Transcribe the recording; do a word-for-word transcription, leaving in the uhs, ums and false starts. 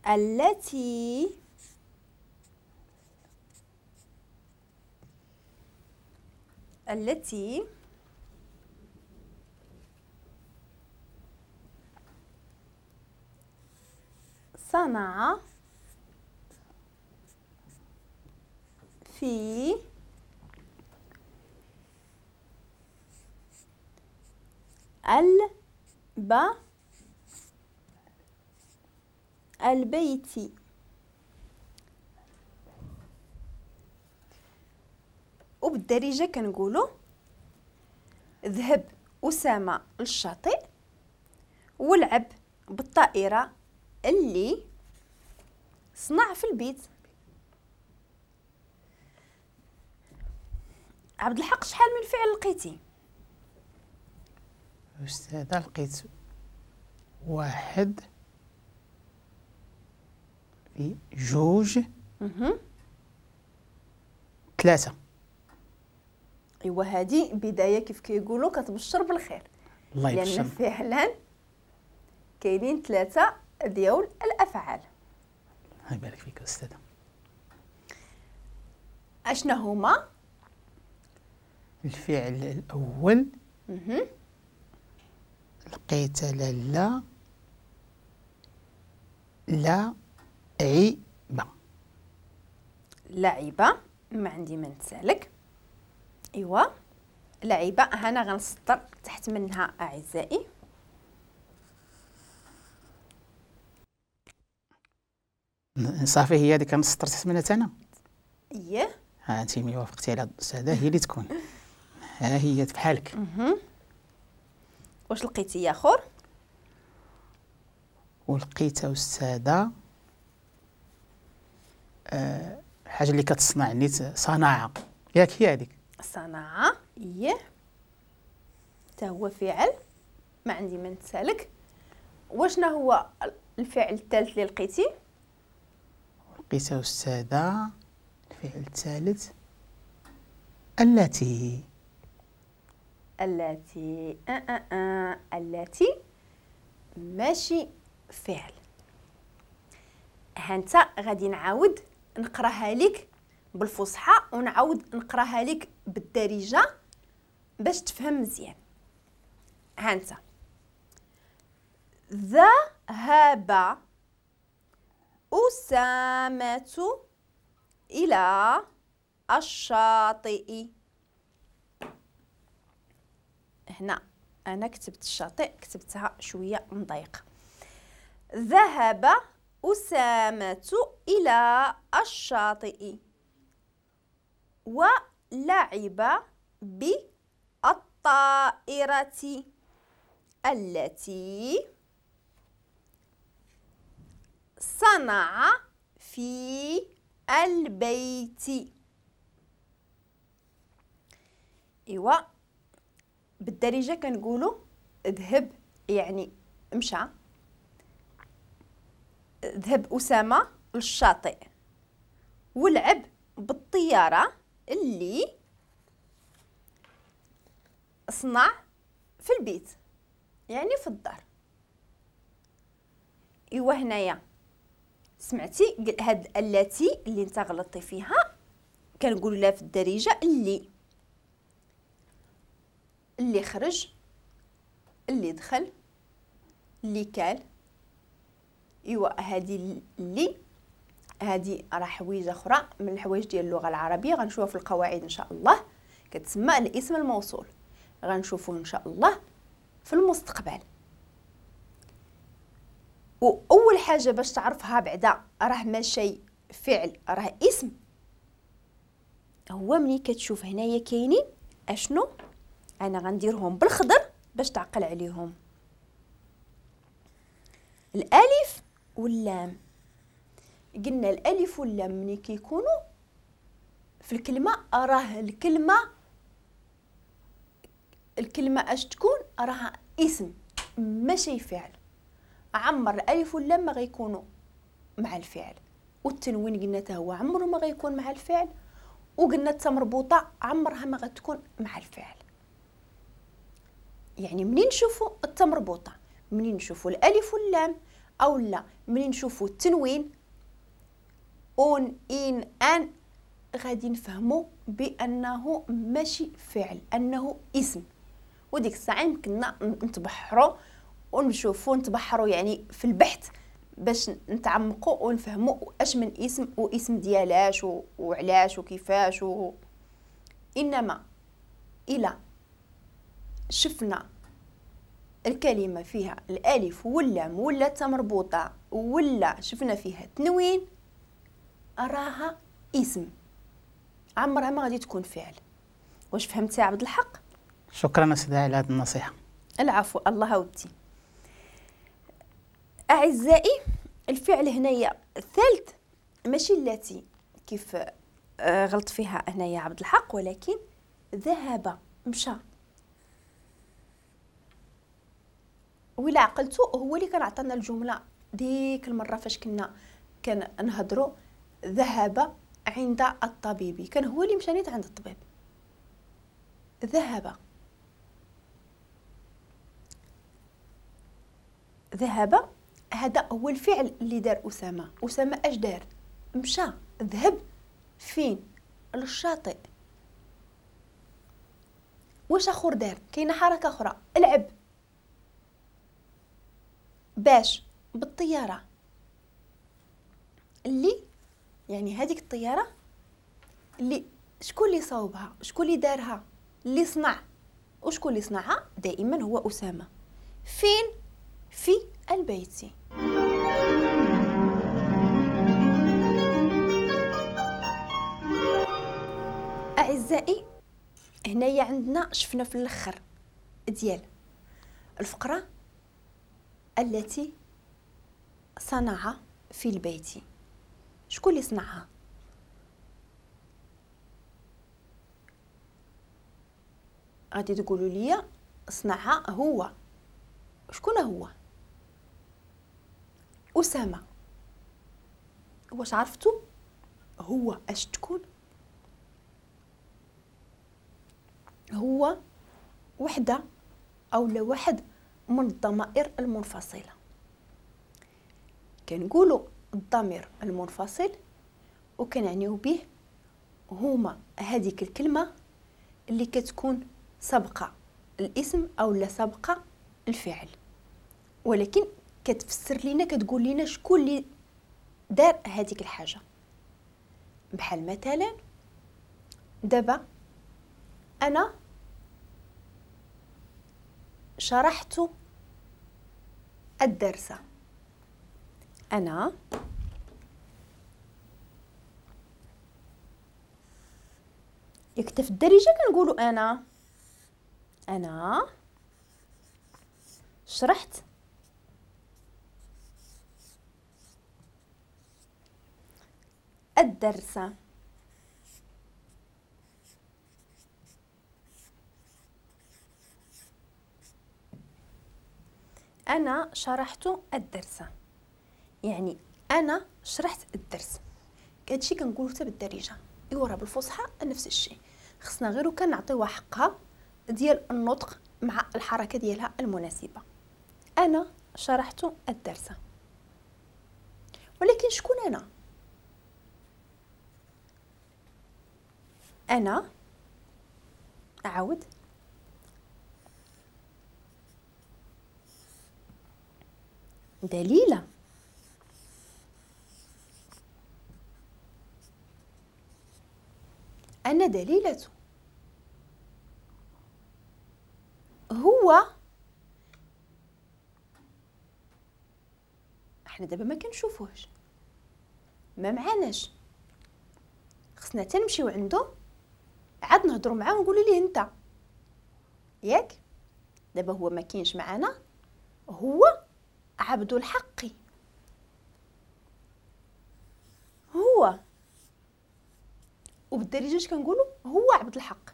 التي التي صنع في الب البيت. وبالدارجة كنقولوا ذهب أسامة للشاطئ ولعب بالطائرة اللي صنع في البيت. عبد الحق شحال من فعل لقيتي؟ أستاذة لقيت واحد في جوج ثلاثة. ايوا هذه بداية كيف كيقولوا كتبشر بالخير. الله يبشر. لأن فعلا كاينين ثلاثة ديال الأفعال. الله يبارك فيك أستاذة. أشنا هما؟ الفعل الأول لقيت لالا لا عيبة. لعبة ما عندي ما نتسالك. ايوا لعبة هنا غنسطر تحت منها أعزائي. صافي هي هذيك كنسطر تحت منها انا. اييه ها انت ملي وافقتي على الأستاذة هي اللي تكون. ها هي بحالك. واش لقيتي يا خور؟ ولقيت أستاذة أه الحاجة اللي كتصنع نيت صناعة، ياك هي هذيك؟ صناعة اييه حتى هو فعل ما عندي ما نتسالك. وشنا هو الفعل الثالث اللي لقيتي؟ لقيت أستاذة الفعل الثالث التي. التي أه أه أه. التي ماشي فعل. ها انت غادي نعاود نقراها لك بالفصحى ونعاود نقراها لك بالدارجة باش تفهم مزيان. ها انت ذهب أسامة إلى الشاطئ. هنا أنا كتبت الشاطئ كتبتها شوية مضايقة. ذهب أسامة إلى الشاطئ ولعب بالطائرة التي صنع في البيت. إيوا بالدارجة كنقولوا ذهب يعني مشى. ذهب أسامة للشاطئ ولعب بالطيارة اللي صنع في البيت يعني في الدار. إيوا هنايا سمعتي هاد التي اللي انت غلطتي فيها كنقولوا لها في الدارجة اللي اللي خرج، اللي دخل، اللي كال. ايوا هذه اللي هذه راه حويجه اخرى من الحوايج ديال اللغة العربية غنشوفها في القواعد ان شاء الله، كتسمى الاسم الموصول، غنشوفوه ان شاء الله في المستقبل. واول حاجة باش تعرفها بعدا راه ماشي فعل راه اسم، هو ملي كتشوف هنايا كاينين اشنو انا غنديرهم بالخضر باش تعقل عليهم، الالف واللام. قلنا الالف واللام ملي كيكونوا في الكلمة راه الكلمة الكلمة اش تكون راه اسم ماشي فعل. عمر الالف واللام ما غيكونوا مع الفعل، والتنوين قلنا حتى هو عمره ما غيكون مع الفعل، وقلنا التا مربوطة عمرها ما غتكون مع الفعل. يعني منين نشوفوا التا مربوطة، منين نشوفوا الالف واللام، او لا ملي نشوفوا التنوين un ine an غادي نفهموا بانه ماشي فعل، انه اسم. وديك الساعة يمكننا نتبحروا ونشوفوا، نتبحروا يعني في البحث باش نتعمقوا ونفهموا اش من اسم واسم ديالاش وعلاش وكيفاش و... انما الى شفنا الكلمة فيها الالف واللام ولا تا مربوطة ولا شفنا فيها تنوين راها اسم، عمرها ما غادي تكون فعل. واش فهمتي يا عبد الحق؟ شكرا استاذه على هذه النصيحة. العفو، الله ودي. اعزائي الفعل هنايا الثالث ماشي التي كيف غلط فيها هنايا عبد الحق، ولكن ذهب مشى. ولا عقلتو هو اللي كان عطانا الجملة ديك المرة فاش كنا كنهضروا ذهب عند الطبيب، كان هو اللي مشى نيت عند الطبيب. ذهب ذهب هذا هو الفعل اللي دار أسامة. أسامة اش دار؟ مشى، ذهب فين؟ للشاطئ. واش اخر دار؟ كاينه حركة اخرى، العب باش بالطيارة اللي يعني هذيك الطيارة اللي شكون اللي صوبها؟ شكون اللي دارها؟ اللي صنع. وشكون اللي صنعها؟ دائما هو أسامة. فين؟ في البيت. أعزائي هنايا عندنا شفنا في الأخر ديال الفقرة التي صنع في البيت. شكون اللي صنعها؟ غادي تقولوا لي صنعها هو. شكون هو؟ أسامة. واش عرفتوا هو اش تكون؟ هو وحده او لا واحد من الضمائر المنفصلة. كنقولوا الضمير المنفصل وكنعنيو به هما هذيك الكلمة اللي كتكون سابقه الاسم او لا سابقه الفعل، ولكن كتفسر لينا، كتقول لينا شكون اللي دار هذيك الحاجة. بحال مثلا دابا انا شرحت الدرس. انا يكتب في الدارجة كنقولوا انا انا شرحت الدرس. أنا شرحت الدرس، يعني أنا شرحت الدرس. هادشي كنقولو حتى بالدارجة، إيوا راه بالفصحى نفس الشيء. خصنا غير كنعطيوها حقها ديال النطق مع الحركة ديالها المناسبة. أنا شرحت الدرس، ولكن شكون أنا؟ أنا أعود دليلة. أنا دليلة. هو احنا دابا ما كنشوفوهش، ما معناش، خصنا تنمشيو عنده عاد نهضروا معاه ونقولوا ليه انت، ياك؟ دابا هو ما كاينش معانا، هو عبد الحق. هو وبالدارجه اش كنقولوا؟ هو عبد الحق.